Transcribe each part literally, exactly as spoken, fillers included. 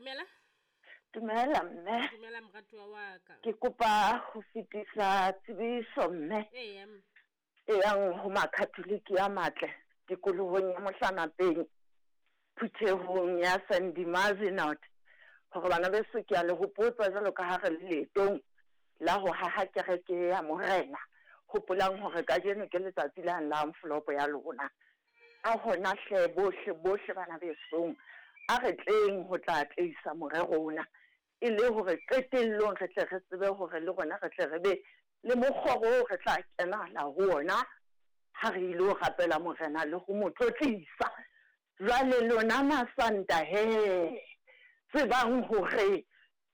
Dumela. Dumela mme. Dumela moratuwa wa ka. Ke kopa ho fetisa tsebiso mme. Eya mme. E yang ho Makatholike a matle tikolohong ya Mohlanapeng, phuthehong ya San Dimazenot, hore bana beso ke a le hopotsa jwalo ka ha re le leetong la ho haha kereke ya Morena. Hopolang hore kajeno ke letsatsi la la envelope ya lona. A hona hle bohle bohle bana besong, a re tleng ho tla atleisa morero ona, e le hore qetellong re tle re tsebe hore le rona re tle re be le mokgoro oo re tla kena la ho ona ha re ile ho rapela Morena le ho mo tlotlisa. Jwale lona Masanta he, tsebang hore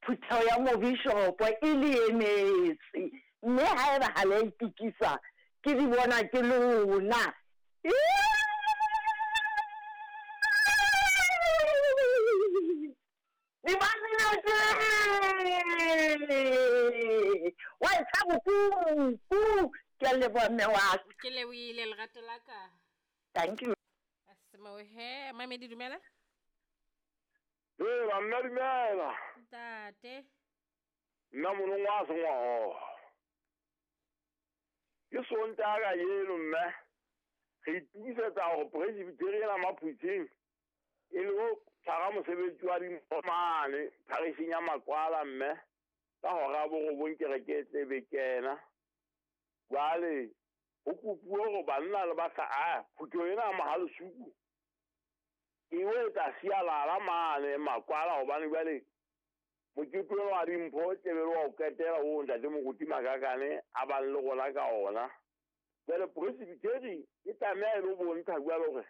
phutheho ya mobishopo e le emetse, mme haeba ha le a itukisa, ke di bona ke lona. Wa ntsha bokuku. Ke a leboha mme wa ka. Ke lebohile lerato la ka. Thank you. Asimo he, mamedi dumela. Ee, banna dumela. Ntate. Nna monong wa sengwaho. Ke Sontaha kajeno mme. Re itukisetsa hore Presbyterian ena Maphutseng e le ho tshwara mosebetsi wa dimpho mane pharisheng ya Makwala mme ka hora ya borobong kereke e tle be kena. Jwale ho kopuwe hore banna le bahla, ah, phutheho ena ya Mohalesuku e o etsa sialala mane Makwala, hobane jwale mokete ona wa dimpho tle be le wa ho qetela oo ntate Moruti Makakane a bang le rona ka ona. Jwale Presbyterian e tlameha e lo bontsha jwale hore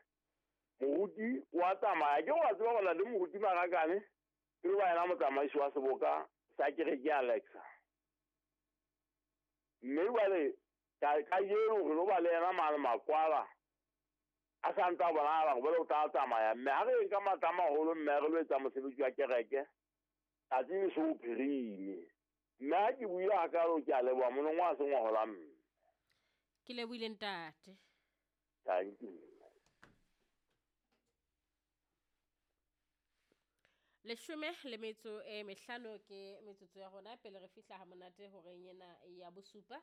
moruti wa tsamaya. Ke wa tseba hore ntate Moruti Makakane ke lo ba yena motsamaisi wa seboka sa kereke ya Alexa. Mme jwale ka kajeno re lo ba le yena mane Makwala a sa ntse a bonahala hore jwale o tla tsamaya. Mme ha re ka matla a maholo mme re lo etsa mosebetsi wa kereke, tsatsi le so phirimile. Mme ha ke buile hakalo, ke a leboha monong wa sengwahola mme. Ke lebohile ntate. Thank you. Leshome le metso e mehlano ke metsotso ya rona pele re fihla ha monate horeng ena ya bosupa.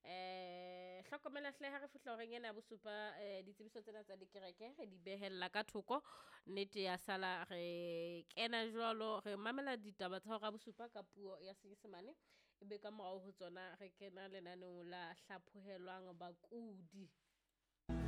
Eh, hlokomela hle ha re fihla horeng ena ya bosupa, eh, ditsebiso tsena tsa dikereke re di behella ka thoko. Nnete ya sala re kena jwalo, re mamela ditaba tsa hora bosupa ka puo ya Senyesemane, ebe ka morao ho tsona re kena lenaneong la hlaphohelwang bakudi.